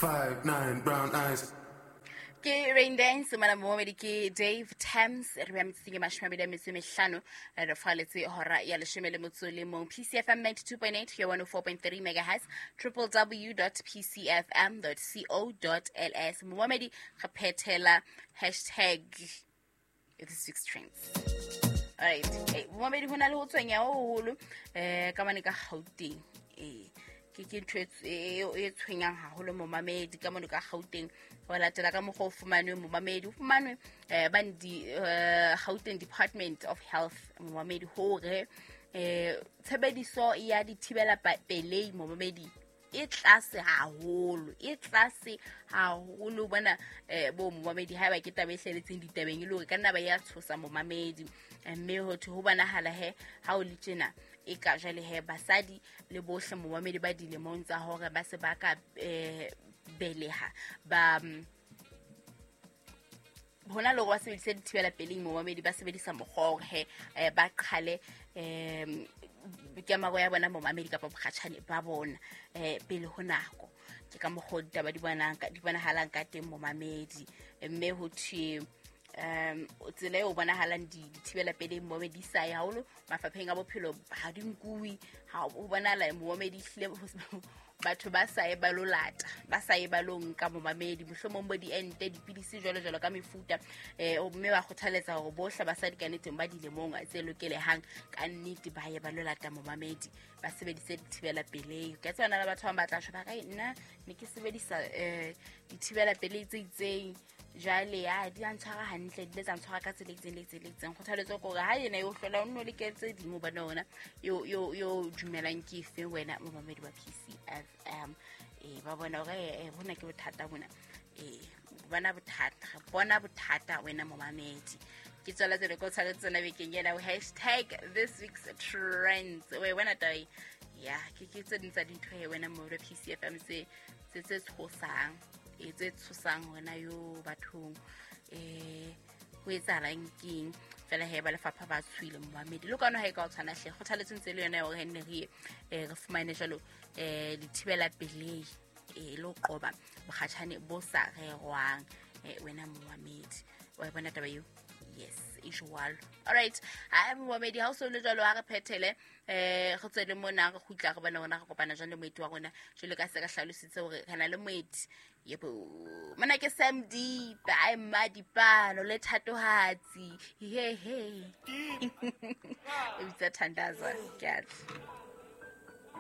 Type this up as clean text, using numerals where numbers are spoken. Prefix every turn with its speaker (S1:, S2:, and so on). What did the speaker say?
S1: 5'9", brown eyes.
S2: Ke Rain Dance mona momedi ke Dave Thames re bea metsotsong e 25 re faletse hora ya 11. PCFM 92.8 ya 104.3 megahertz, www.pcfm.co.ls. Momedi re phethela hashtag this week's trends. Alright, momedi ho na le ho tshwenya ho hoholo ka mane ka Gauteng. Ke ntho e tshwenyang haholo momamedi ka mane ka Gauteng. Ho latela ka mokgwa o fumanwe momamedi, o fumanwe bane di Gauteng Department of Health momamedi hore tshebediso ya dithibela pelei momamedi e tlase haholo, e tlase haholo bona bo momamedi. Haeba ke taba e hleletseng ditabeng e le hore ka nna ba ya tshosa momamedi, mme ho thwe ho bonahala he ha o le tjena e ka jwale he basadi le bohle momamedi ba dilemong tsa hore ba se ba ka beleha ba hona le hore ba sebedise dithibela peleng momamedi, ba sebedisa mokgwa hore he ba qhale kemaro ya bona momamedi kapa bokgatjhane ba bona pele ho nako. Ke ka mokgwa ditaba di bonahalang ka teng momamedi, mme ho thwe tsela eo bonahalang dithibela peleng momamedi di sa ye haholo mafapheng a bophelo, ha di nkuwe, ha ho bonahala momamedi ehlile batho ba sa ye ba lo lata, ba sa ye ba lo nka momamedi, mohlomong bo diente, dipidisi jwalo jwalo ka mefuta. Mme ba kgothaletsa hore bohle basadi ka nneteng ba dilemong tse lokelehang ka nnete ba ye ba lo lata momamedi, ba sebedise dithibela pelei. Ka tsona le batho ba bang ba tla tjho ba re nna ne ke sebedisa dithibela pelei tse itseng, jwale ya di a ntshwara hantle, di ile tsa ntshwara ka tsela e itseng le itseng le itseng. Kgothaletso ke hore ha yena yo hlola o nno leke tse ding, hobane ona yo dumelang ke efe wena momamedi wa PCFM. Ba bona hore bona ke bothata bona, bona bothata, bona bothata wena momamedi. Ke tswela tsele ko tshwaretse tsona bekeng ena hashtag this week's trends. We wena taba ya ke tse ding tsa dintho he wena momamedi wa PCFM tse tshosang, tse tshosang hona yo bathong. Ho etsahalang keng fela he ba lefapha ba tshwile momamedi le kwana ha e ka o tshwana hle. Kgothaletso ntse le yona ya hore nne re re fumane jwalo dithibela pelei le ho qoba bokgatjhane bo sa rerwang wena momamedi. Wa bona taba eo? Yes, e jwalo. Alright, ha momamedi ha o so le jwalo ha re phethele re tswele mona re kgutla re bona rona re kopana jwang le moeti wa rona. Jwalo ka se ka hlalositse hore re na le moeti. Yebo, mona ke Sam Deep, ai Madipalo le Thatohatsi. He he. E bitsa Thandaza, ke a tla.